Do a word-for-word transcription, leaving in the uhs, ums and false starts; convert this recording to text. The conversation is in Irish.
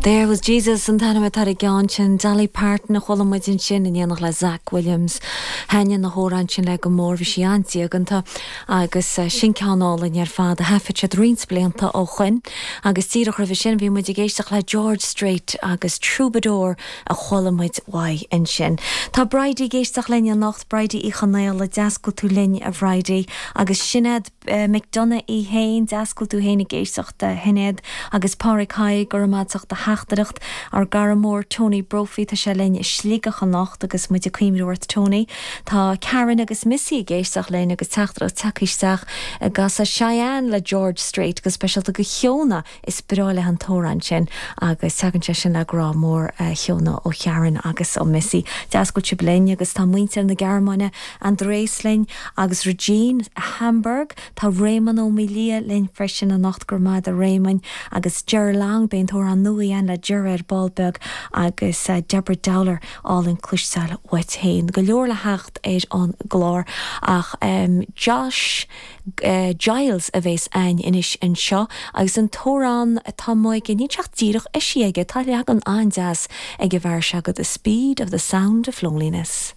There was Jesus an t-ainm atá ar an gceann sin Dolly Parton a chuala muid ansin in éineacht le Zach Williams. Thaitnigh na hamhráin sin léi go mór bhí sí an-diaganta agus eh, sin ceann álainn ar fad a thaifead siad roinnt blianta ó shin agus díreach roimhe sin bhí muid ag éisteacht le George Strait agus Troubadour a chuala muid uaidh ansin. Tá Bridie ag éisteacht linn anocht Bridie Uí Chonaola deas go bhfuil tú linn a Bhridie agus Sinéad uh, McDonough í féin deas go bhfuil tú féin ag éisteacht a Shinéad agus Pádraig Haigh gur amach a theachtaireacht ár gcara mór Tony Brophy tá sé linn i Sligeach anocht agus muid ag cuimhniú ort Tony. Tá Karen agus Missy ag éisteacht linn agus teachtaireacht tagtha isteach agus Cheyenne le George Strait go speisialta do Shiona is breá léi an t-amhrán sin agus tagann sé sin le grá mór uh, Shiona ó Karen agus ó Missy. Deas go bhfuil sibh linn agus tá muintir na Gearmáine Andrés linn agus Regine Hamburg tá Raymond Ó Mília linn freisin anocht go raibh maith agat Raymond agus Ger Lang beidh an t-amhrán nua an le Ger ar ball beag agus uh, Deborah Dowler álainn cloisteáil uait féin. Go leor le theacht ar an gclár ach um, Josh uh, Giles a bheas againn anois anseo agus an t-amhrán atá aige ní teach díreach is sí aige tá leagan an-deas ag a bhar se go the speed of the sound of loneliness.